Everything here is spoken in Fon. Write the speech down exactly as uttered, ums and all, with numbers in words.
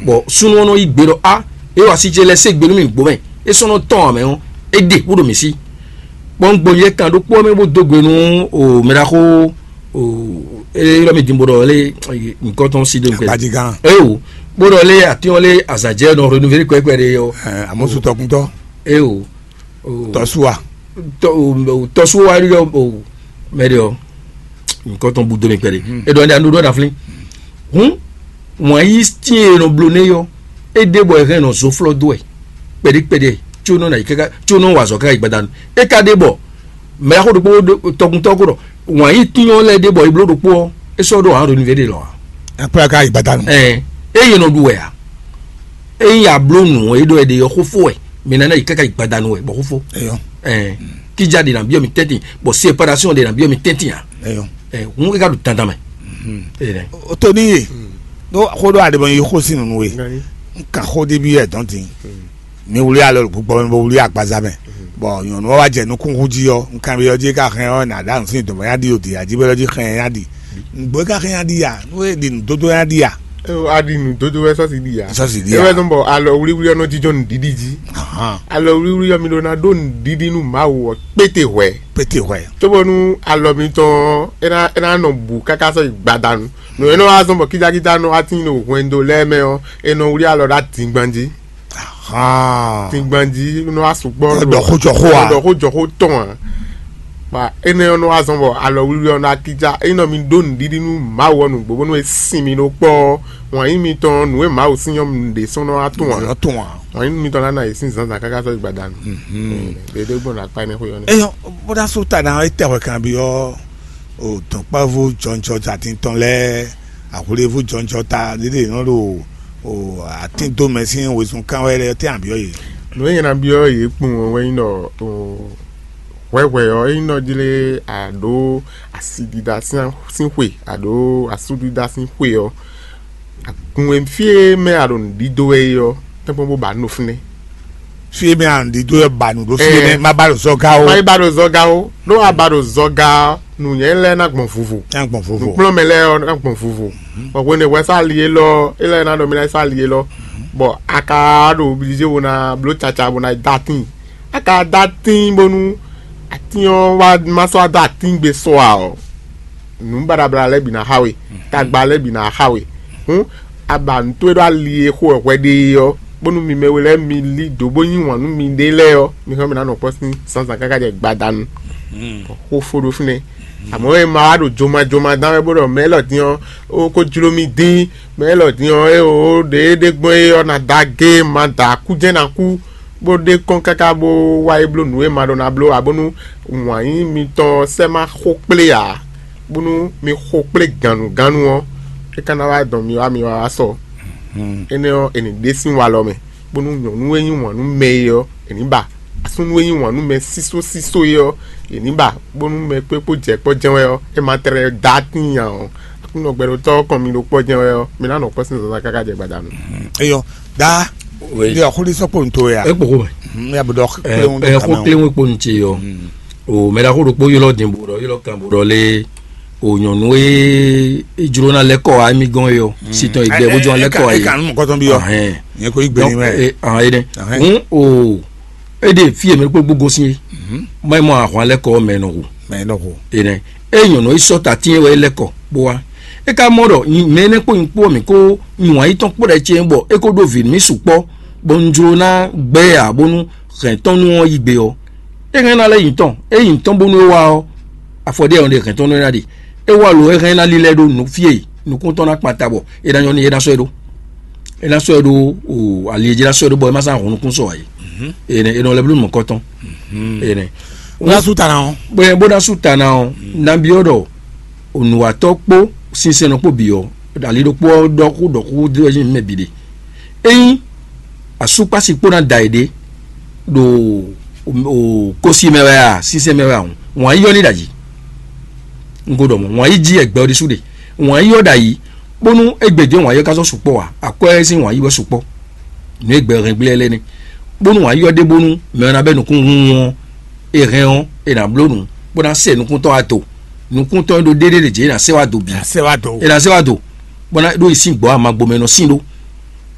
Bɔ súnnu ɔ́ nɔ yí gbe ɖɔ a, é wa sí ce lɛ́ɛ sé gbe nú mì gbomɛ, é sɔ́ nɔ tɔn ǎ mɛ ɔ́, é ɖe bó ɖo mǐ sí. Bɔ un gbɔn yɛ kan ɖokpó ɔ́ mɛ bó dó gbe nú o mɛɖaxó o élɔ́ mi din bó ɖɔ lé nukɔn tɔn sí ɖo nukɛ. Agbadzi gán. Eo, bó ɖɔ lé atín ɔ́ lé azǎjɛ nɔ renouveler kwɛ́kwɛ́ ɖé ɔ́. Amosu tɔkuntɔ. Eo. Tɔsua. Tɔsua ɖi ɔ, mɛ ɖe ɔ, nukɔn tɔn bu do mi kpɛɖe. E ɖɔ ɖa ɖo ɖa flin. Hun, wǎn yí tín e nɔ blo nɛ yɔ, é ɖe bɔ e hɛn nɔ zo flɔ dó wɛ kpɛɖe kpɛɖe, tso nɔ na yi káká, tso nɔ wa azɔ káká yi gbadanu. É ka ɖe bɔ mɛ yaxo ɖokpó tɔkuntɔ ko ɖɔ wǎn yí tín ɔ́ lɛ́ ɖe bɔ e bló ɖokpó ɔ́, é sɔ́ ɖo hǎn ɖo nuvɛ ɖe lɔ ǎ. Akpla ka yi gbadanu. Ɛn, eye nɔ ɖu wɛ a? Eye a bló nǔ e ɖɔ e ɖe ɔ́ xó fó wɛ, mi ná ná yi káká yi gbadanu wɛ bɔ xó fó. Eyɔ. Ɛn, kíjá ɖe na byɔ́ mi tɛ́ntin, bɔ séparation ɖe na byɔ́ mi tɛ́ntin a? Eyɔ. Ɛn, hun e ka ɖo dandan mɛ. Ee nɛ. O to ní ye. Ɖó xó ɖó aɖebɔ yi xó sín nǔnú we. N kan xó ɖé byɔ́ ɛ dɔn din. Mi wlí alɔ ɖo gbɔgbɔ mɛ bó wlí agbaza mɛ. Bɔ nyɔ̌nu ɔ́ wá jɛ nukún hú jí ɔ́, un kanbyɔ́ jí ká hɛn ɔ́, nǎ ɖa nǔ sín dɔ̌n yá ɖi o dǐ jí bɔ jí hɛn yá ɖi. Nǔgbó ká hɛn yá ɖi ya, nú é ɖi nǔdódó yá ɖi ya. A ɖi nǔdódó wɛ sɔ́si ɖi ya. Sɔ́si ɖi ya. Ewɛ zɔn bɔ alɔ wlíwlí ɔ́ nɔ jínjɔ́n nǔɖiɖi jí. Alɔ wlíwlí ɔ́ mi ɖó ná ɖó nǔɖiɖi nú Mawu ɔ́ kpéte hwɛ̌. Pété hwɛ. Cóbónú alɔ mitɔn ɔ́, é ná é ná nɔ bǔ káká sɔ́ yi gbadanu. Nǔ e nɔ wá zɔn bɔ kídákídá nɔ wá tín ɖo hwɛndo lɛ́ɛ mɛ ɔ́, è nɔ wlí alɔ ɖó adingban jí. Dingban jí nɔ wá sukpɔ́. Ɖɔ xó jɔ xó a? Ɖɔ xó jɔ xó tɔn a? Ba énɛ́ ɔ́ nɔ wá zɔn bɔ alɔ wlíwlí ɔ́ ná kíjá. Ényí nɔ mi ɖó nǔɖiɖi nú Mawu ɔ́ nǔgbó bónú é sin mi ɖó kpɔ́ ɔ́, wǎn yí mitɔn nǔ e Mawu sín ɔ́, mi ɖésú nɔ wá tunwun a? Nɔ tunwun a? Wǎn yí mitɔn ná ná yě sín zǎnzǎn káká sɔ́ yi gbadanu. Ɖeɖé gbɔn ɖo akpá énɛ́ xwé ɔ́ nɛ́. Eyɔn, bó ná sú ta ná é tɛ hwɛ kan byɔ́ o dɔ̌nkpɛvú jɔnjɔ atín tɔn lɛ́ɛ, ahwlivú jɔnjɔ ta ɖéɖé nɔ ɖo o atín dó mɛ sín wezun kán wɛ lɛ́ɛ tɛ́ abyɔ́ yě. Nǔ e nyɛ ná byɔ́ yě kpowun ɔ́ wɛ nyí ɖɔ o hwɛhwɛ ɔ́ é nyí nɔ jlé a ɖǒ asidida sín xwe a ɖǒ asúdida sín xwe ɔ́, agun e fí e mɛ a ɖo nǔ ɖidó wɛ é ɔ́, tɛ́nkpɔ́n bó ba nú fínɛ́. Fí e mɛ a nǔ ɖidó wɛ ba nǔ ɖó fí e nɛ́, má ba ɖo zɔga ó. Má yi ba ɖo zɔga ó, ɖó a ba ɖo zɔga ɔ́, nǔnywɛ́ lɛ́ɛ ná gbɔn vuvo. Ná gbɔn vovo. Nǔkplɔ́nmɛ lɛ́ɛ ɔ́ ná gbɔn vuvo. Bɔ hwenu e hwɛ sá ali élɔ́, é lɛ́ ná ɖɔ mì ná sá ali élɔ́, bɔ a ka ɖo oblizé bo ná bló caca bo ná dó atín. A ka dó atín bónú atín ɔ́ wá má sɔ́ wá dó atín gbe sɔ ǎ ɔ́, nǔ baɖabla lɛ́ɛ bǐ ná xa we, tagba lɛ́ɛ bǐ ná xa we. Hǔn a ba nǔ towe ɖó ali e xo wɛ hwɛ ɖe é ɔ́, bónú mi mɛ we lɛ́ɛ mi lí dǒ bó yí wǎn nú miɖée lɛ́ɛ ɔ́, mi hɛn mi ná nɔ kpɔ́ sín zǎnzǎn káká jɛ gbadanu. Xó fó ɖó fínɛ́. Àmọ́ e ma wá ɖo jomajoma dán wɛ bó ɖɔ mɛ élɔ́ din ɔ́, ó kó jló mì dín, mɛ élɔ́ din ɔ́, é ó ɖě é ɖe gbɔn é ɔ́ ná da agé, ma da akú jɛ́n ná kú, bó ɖe kɔn káká bó wá yi bló nǔ e ma ɖó ná bló ǎ, bónú wǎn yí mitɔn sɛ́ má xo kplé ǎ, bónú mi xo kplé gannugánnu ɔ́, é ka ná wá dɔn mi wá mi wá wá sɔ. Énɛ́ ɔ́, è nǐ ɖe sín walɔ mɛ, bónú nyɔ̌nu e yí wǎn nú mɛ é ɔ́, è nǐ ba; asúnú e yí wǎn nú mɛ sísó sísó é ɔ́, è nǐ ba, bónú mɛ kpé kpó jɛ kpɔ́ jɛ́n wɛ ɔ́, é ma tlɛ dó atín nya ɔ́. Aklúnɔ gbɛɖotɔ́ ɔ́ kɔn mi ɖo kpɔ́ jɛ́n wɛ ɔ́, mi ná nɔ kpɔ́ sín zǎnzǎn káká jɛ gbadanu. Eyɔ, da. Oui. Ndé ɔxóɖí sɔ́ kpó nǔ towe a? É kpo xó mɛ. Hmm, ya bɔ ɖɔ Ɛ, kpléwún ɛ, xó kléwún kpo nú ce yɔ. O mɛ ɖaxó ɖokpó ylɔ́ din bó ɖɔ ylɔ́ kan bó ɖɔ lé o nyɔ̌nu e e jló ná lɛ́ kɔ wá émí gɔ́n é ɔ́, si tɔn e gbɛ bó jló ná lɛ́ kɔ wá é. Kan nú mɔkɔtɔn bí ɔ. Ahɛn. Nyɛ ko yí gbé ní mɛ. Ahɛn é nɛ. Hun o é ɖe fí e mɛ kpó gbogbo sín é. Má yi mɔ ahwan lɛ́ kɔ mɛ nɔ hu. Mɛ nɔ hu. É nɛ. É nyɔ̌nu e sɔ́ ta tín é wɛ é lɛ́ kɔ bó wá. É ka mɔ ɖɔ mɛ énɛ́ kpó nyí kpó mǐ kó nyi wǎn yítɔn kpó ɖɛ ce bɔ é kó ɖó vǐ nú mì sukpɔ́, bɔ un jló ná gbɛ́ ɛ ǎ bónú hɛ̌ntɔ́nnú ɔ́ yí gbe ɔ́. É hɛn ná lɛ́ nyi tɔn, é nyi tɔn bónú é wá ɔ́, afɔ ɖé ɔ́ ɖe hɛ̌ntɔ́nnú é ná ɖe. É wá lo é hɛn ná lílɛ́ ɖó nǔ fí e nukún tɔn ná kpan ta bɔ é ná nyɔ́ n'i é ná sɔ́ ɛ ɖó. É ná sɔ́ ɛ ɖó o ali e jí ná sɔ́ ɛ ɖó bɔ é má sán hun nukún sɔ ǎ é. Énɛ́ é nɔ lɛ́ bló nukɔn tɔn. Énɛ́. Bó ná sú ta ná ɔ́. Bó ná sú ta ná ɔ́, nabí ɔ́ ɖɔ onùwàtɔ́ kpó sinsɛnnɔ kpó bǐ ɔ́, ali ɖokpó ɔ́ ɖɔ xó ɖɔ xó dó wɛ mɛ bǐ ɖe. Ényí asúkpási kpó ná da yě ɖé ɖo kósi mɛ wɛ a, sínsɛ́n mɛ wɛ a hǔn, wǎn yí ɔ́ ní ɖo ayǐ. Un ko ɖɔ mɔ̌, wǎn yí jí ɛgbɛ ɔ́ ɖésú ɖe. Wǎn yí ɔ́ ɖo ayǐ, bónú égbé din wǎn yí ɔ́ ka sɔ́ sukpɔ́ ǎ, akwɛ́ sín wǎn yí wɛ sukpɔ́. Nǔ e gbɛ hɛn gblé lɛ́ɛ ní, bónú wǎn yí ɔ́ ɖe bónú mɛ ɔ́ ná bɛ́ nukún hun ɔ́, è hɛn ɔ́, è nǎ bló nǔ, bó ná sɛ nukúntɔ́ wá do. Nukúntɔ́ e ɖó ɖéɖé ɖě jě è nǎ sɛ wá do bǐ. Sɛ wá do. È nǎ sɛ wá do, bó ná ɖó yi sín gbɔ̌ amagbomɛ nɔ sín ɖó.